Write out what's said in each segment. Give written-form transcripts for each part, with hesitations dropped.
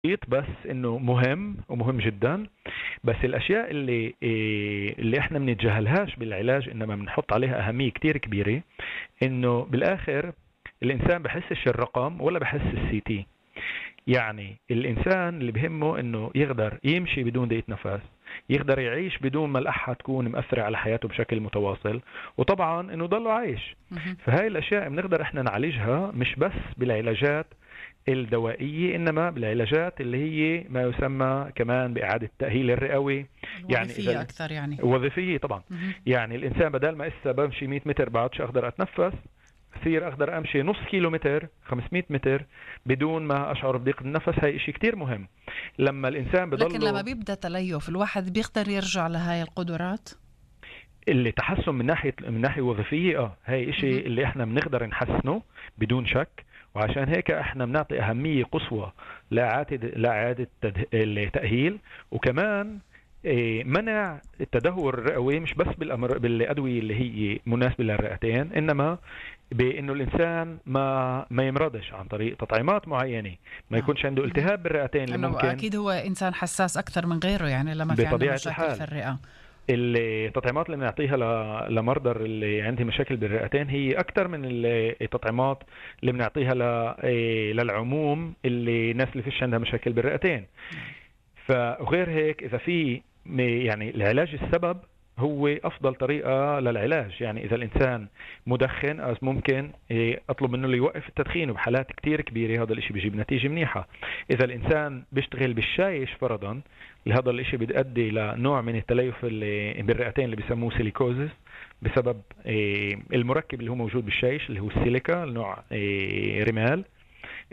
بس إنه مهم ومهم جدًا. بس الأشياء اللي إحنا بنتجاهلهاش بالعلاج إنما بنحط عليها أهمية كتير كبيرة، إنه بالآخر الإنسان بحسش الرقم ولا بحس الCT. يعني الإنسان اللي بهمه إنه يقدر يمشي بدون ضيق نفس، يقدر يعيش بدون ما الأحة تكون مأثرة على حياته بشكل متواصل، وطبعا إنه ضله عايش. مهم. فهاي الأشياء بنقدر إحنا نعالجها مش بس بالعلاجات الدوائية، إنما بالعلاجات اللي هي ما يسمى كمان بإعادة التأهيل الرئوي. يعني الوظيفية أكثر يعني. وظيفية طبعا. مهم. يعني الإنسان بدل ما إسا بمشي 100 متر بعدش أقدر أتنفس، بصير أقدر أمشي نص كيلو متر 500 متر بدون ما أشعر بضيق النفس. هاي إشي كتير مهم لما الإنسان لكن لما بضله. بيبدأ تليف الواحد بيقدر يرجع لهاي القدرات. اللي تحسن من ناحية وظيفية هاي إشي مهم. اللي إحنا بنقدر نحسنه بدون شك. وعشان هيك إحنا بنعطي أهمية قصوى لإعادة التأهيل، وكمان منع التدهور الرئوي مش بس بالأدوية اللي هي مناسبة للرئتين، إنما بأنه الإنسان ما يمرضش عن طريق تطعيمات معينة، ما نعم. يكونش عنده مهم. التهاب بالرئتين اللي إنه ممكن. أكيد هو إنسان حساس أكثر من غيره، يعني لما في عنده بطبيعة مشاكل في الحال الرئة. التطعيمات اللي بنعطيها لمرضى اللي عندهم مشاكل بالرئتين هي أكثر من التطعيمات اللي بنعطيها للعموم، اللي الناس اللي فيش عندها مشاكل بالرئتين. فغير هيك إذا في يعني العلاج السبب هو أفضل طريقة للعلاج. يعني إذا الإنسان مدخن ممكن أطلب منه يوقف التدخين، وبحالات كتير كبيرة هذا الإشي بيجيب نتيجة منيحة. إذا الإنسان بيشتغل بالشايش فرضا، هذا الإشي بيؤدي لنوع من التليف اللي بالرئتين اللي بيسموه سيليكوزس، بسبب المركب اللي هو موجود بالشايش اللي هو السيليكا، نوع رمال.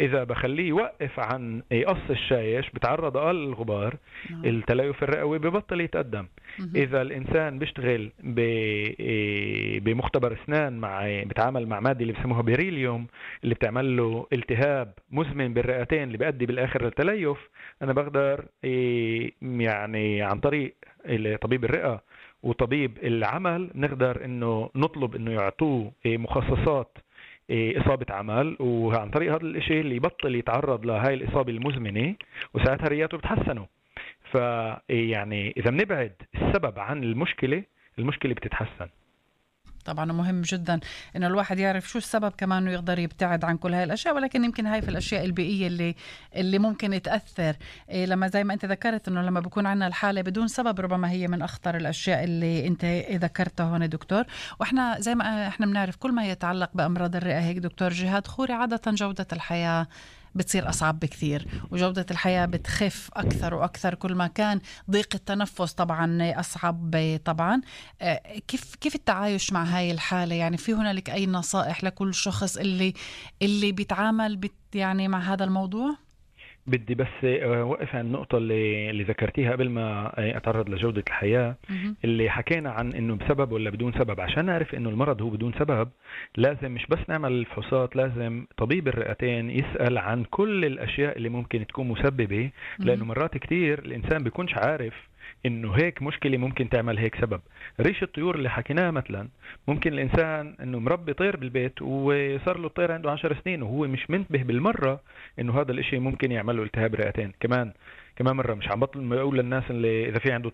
إذا بخليه يوقف عن قص الشايش بتعرض أقل للغبار، نعم. التليف الرئوي ببطل يتقدم. مهم. إذا الإنسان بيشتغل بمختبر أسنان بتعامل مع مادة اللي بسموها بيريليوم اللي بتعمل له التهاب مزمن بالرئتين اللي بيؤدي بالآخر للتليف، أنا بقدر يعني عن طريق طبيب الرئة وطبيب العمل نقدر إنه نطلب إنه يعطوه مخصصات إصابة عمل، وعن طريق هذا الإشي اللي يبطل يتعرض لهاي الإصابة المزمنة، وساعتها رياته بتحسنوا. فيعني إذا بنبعد السبب عن المشكلة بتتحسن. طبعا مهم جدا انه الواحد يعرف شو السبب كمان انه يقدر يبتعد عن كل هاي الاشياء، ولكن يمكن هاي في الاشياء البيئيه اللي ممكن تاثر. لما زي ما انت ذكرت انه لما بكون عندنا الحاله بدون سبب، ربما هي من اخطر الاشياء اللي انت ذكرتها هون دكتور. واحنا زي ما احنا بنعرف كل ما يتعلق بامراض الرئه هيك دكتور جهاد خوري، عاده جوده الحياه بتصير أصعب بكثير، وجودة الحياة بتخف أكثر وأكثر كل ما كان ضيق التنفس طبعا أصعب طبعا. كيف التعايش مع هاي الحالة؟ يعني في هنالك أي نصائح لكل شخص اللي بيتعامل يعني مع هذا الموضوع؟ بدي بس وقف عن النقطة اللي ذكرتيها قبل ما أتعرض لجودة الحياة. مهم. اللي حكينا عن إنه بسبب ولا بدون سبب. عشان نعرف إنه المرض هو بدون سبب لازم مش بس نعمل الفحوصات، لازم طبيب الرئتين يسأل عن كل الأشياء اللي ممكن تكون مسببة، لأنه مهم. مرات كتير الإنسان بيكونش عارف إنه هيك مشكلة ممكن تعمل هيك سبب. ريش الطيور اللي حكيناها مثلا، ممكن الإنسان إنه مربي طير بالبيت وصار له الطير عنده 10 سنين وهو مش منتبه بالمرة إنه هذا الإشي ممكن يعمل له التهاب رئتين. كمان مرة مش عم بطل اقول للناس اللي اذا في عنده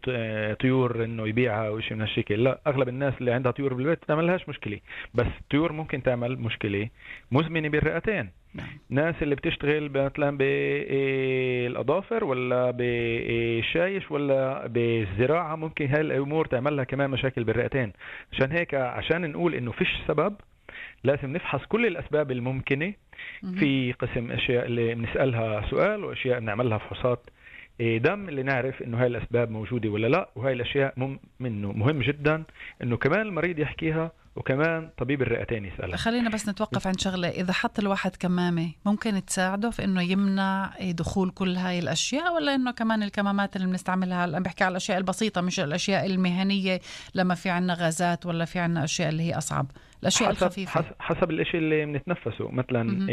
طيور انه يبيعها او شيء من هالشكل. لا، اغلب الناس اللي عندها طيور بالبيت بتعمل لهاش مشكله، بس الطيور ممكن تعمل مشكله مزمنه بالرئتين. نعم. ناس اللي بتشتغل مثلا بالاظافر ولا بالشايش ولا بالزراعه، ممكن هاي الامور تعمل لها كمان مشاكل بالرئتين. عشان هيك عشان نقول انه فيش سبب لازم نفحص كل الاسباب الممكنه. مهم. في قسم اشياء اللي بنسالها سؤال، واشياء بنعمل لها فحوصات دم اللي نعرف انه هاي الاسباب موجوده ولا لا. وهاي الاشياء منه مهم جدا انه كمان المريض يحكيها، وكمان طبيب الرئتين يسالها. خلينا بس نتوقف عند شغله، اذا حط الواحد كمامه ممكن تساعده في انه يمنع دخول كل هاي الاشياء، ولا انه كمان الكمامات اللي بنستعملها انا بحكي على الاشياء البسيطه مش الاشياء المهنيه، لما في عنا غازات ولا في عنا اشياء اللي هي اصعب، الاشياء الخفيفه؟ حسب الاشي اللي بنتنفسه. مثلا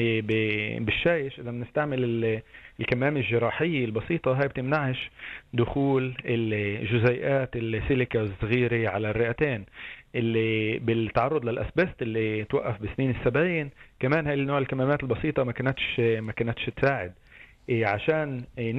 بالشايش اذا بنستعمل الكمامة الجراحية البسيطة، هاي بتمنعش دخول الجزيئات السيليكا الصغيرة على الرئتين. اللي بالتعرض للأسبست اللي توقف بسنين السبعين، كمان هاي النوع الكمامات البسيطة ما كانتش تساعد. عشان